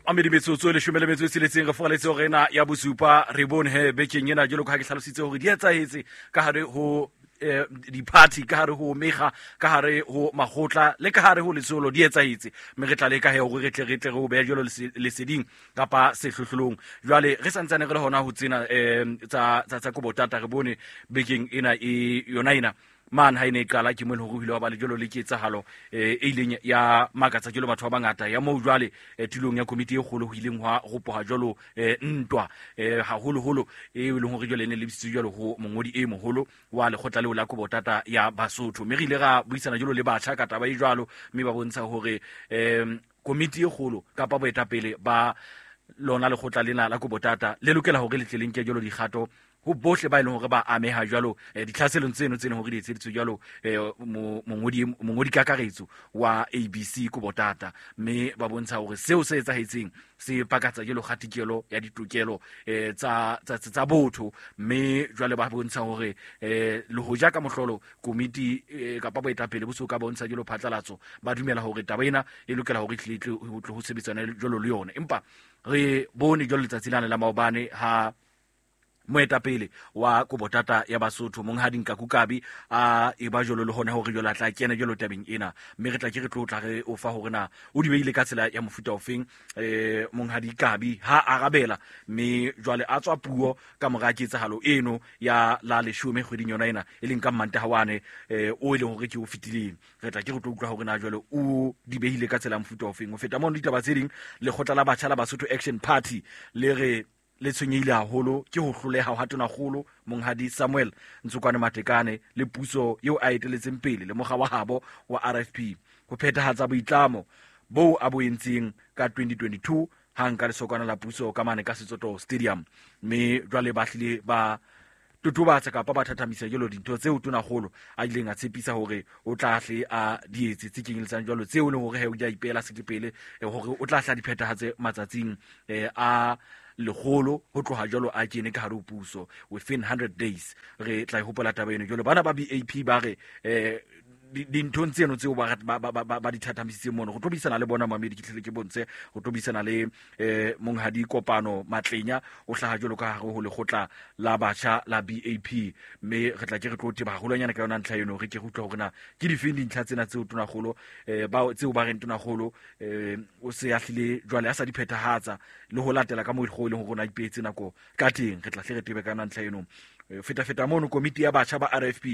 Amedi metsotso e leshome le metso e tsheletseng re fogaletse hore ena ya bosupa. Re bone he bekeng ena jwalo ka ha ke hlalositse hore di etsahetse ka hare ho di-party, ka hare ho mekga, ka hare ho makgotla le ka hare ho letsholo di etsahetse, mme re tla leka he hore re tle re o behe jwalo leseding kapa sehlohlolong. Jwale re santsane re le hona ho tsena tsa kobotata, re bone bekeng ena e yona ena mane ha e ne e qala ke mo e leng hore ho ile wa ba le jwalo le ketsahalo e ileng ya makatsa jwalo batho ba bangata ya moo jwale tulong ya komiti e kgolo ho ileng hwa ropoha jwalo ntwa haholoholo e leng hore jwale e ne lebisitswe jwalo ho mongodi e moholo wa lekgotla leo la kobotata ya Basotho. Mme re ile ra buisana jwalo le batjha ka taba e jwalo, mme ba bontsha hore komiti e kgolo kapa boetapele ba lona lekgotla lena la kobotata le lokela hore le tle le nke jwalo dikgato ho bohle ba e leng hore ba ameha jwalo ditlhaselong tseno tse leng hore di etseditswe jwalo mongodi kakaretso wa ABC kobotata, mme ba bontsha hore seo se etsahetseng se pakatsa jwalo kgatikelo ya ditokelo tsa botho. Mme jwale ba bontsha hore le hoja ka mohlolo komiti kapa boetapele bo so ka bontsha jwalo phatlalatso, ba dumela hore taba ena e lokela hore e tle ho sebetsana jwalo le yona. Empa re bone jwalo letsatsi lane la maobane ha moetapele wa kobotata ya Basotho, monghadi Nkaku Kabi, a e ba jwalo le hona hore jwalo a tla kena jwalo tabeng ena, mme re tla ke re tlo tla re o fa hore na o di beile ka tsela ya mofuta ofeng monghadi Kabi ha arabela. Mme jwale a tswa puo ka mora ketsahalo eno ya la 10 kgweding yona ena, e leng ka Mmantaha wane o e leng hore ke o fetileng. Re tla ke re tlo utlwa hore na jwale o di behile ka tsela ya mofuta ofeng. Ho feta mono, ditaba tse ding, lekgotla la batjha la Basotho Action Party le re le tshwenyehile haholo ke ho hloleha ha tonakgolo monghadi Samuel Ntsokwane Matekane le puso eo a eteletseng pele le mokga wa habo wa RFP ho phethahatsa boitlamo boo a bo entseng ka 2022 ha nka lesokwana la puso ka mane ka Setsoto Stadium. Mme jwale ba hlile ba totobatsa kapa ba thathamisa jwalo dintho tseo tonakgolo a ileng a tshepisa hore o tla hle a di etse, tse kenyeletsang jwalo tseo e leng hore he o di a ipeela sekepele hore o tla hle a di phethahatse matsatsing a 100 ho tloha jwalo a kene ka hare ho puso, within 100 days. Re tla e hopola taba eno. Jwalo bana ba BAP ba re dinthong tseno tseo ba di thathamisitseng mono, go tlo buisana le bona mamedi, ke tlhele ke bontshe go tlo buisana le monghadi Kopano Matlenya, o hlaha jwalo ka hare ho lekgotla la batjha la BAP, mme re tla ke re tlo teba haholwanyane ka yona ntlha eno, re ke re utlwa hore na ke difeng dintlha tsena tseo tonakgolo ba tseo ba reng tonakgolo o se a hlile jwale a sa di phethahatsa le ho latela ka moo e leng hore o na ipeetse nako ka teng. Re tla hle re tebe ka yona ntlha eno. Feta-feta mono, komiti ya batjha ba RFP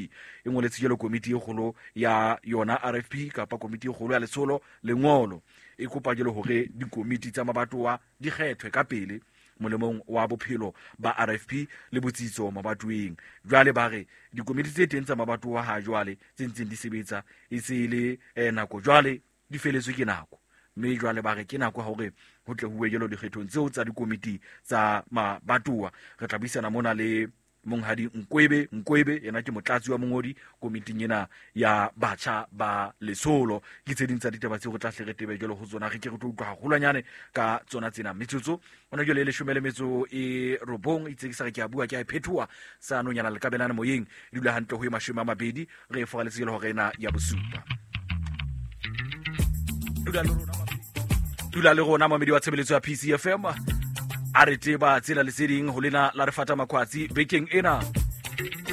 e ngoletse jwalo komiti e kgolo ya yona RFP kapa komiti e kgolo ya letsholo lengolo, e kopa jwalo hore dikomiti tsa mabatowa di kgethwe ka pele molemong wa bophelo ba RFP le botsitso mabatoweng. Jwale ba re dikomiti tse teng tsa mabatowa ha jwale tse ntseng di sebetsa e se e le nako jwale di feletswe ke nako, mme jwale ba re ke nako ya hore ho tle huwe jwalo dikgethong tseo tsa dikomiti tsa mabatowa. Re tla buisana mona le monghadi Nkwebe Nkwebe, yena ke motlatsi wa mongodi komiting ena ya batjha ba letsholo. Ke tse ding tsa ditaba tseo re tla hle re tebe jwalo ho tsona, re ke re tlo utlwa haholwanyane ka tsona tsena. Metsotso ona jwale e 19 itse ke sa re ke a bua ke a e phethoha sa nonyana le kabelane moyeng, e dula hantle ho e 20 re e foraletse jwalo hore ena ya bosupa. Dula le rona mamedi wa tshebeletso ya PCFM, a re teba tsela le tse ding ho lena la re fata makhwatsi bekeng ena.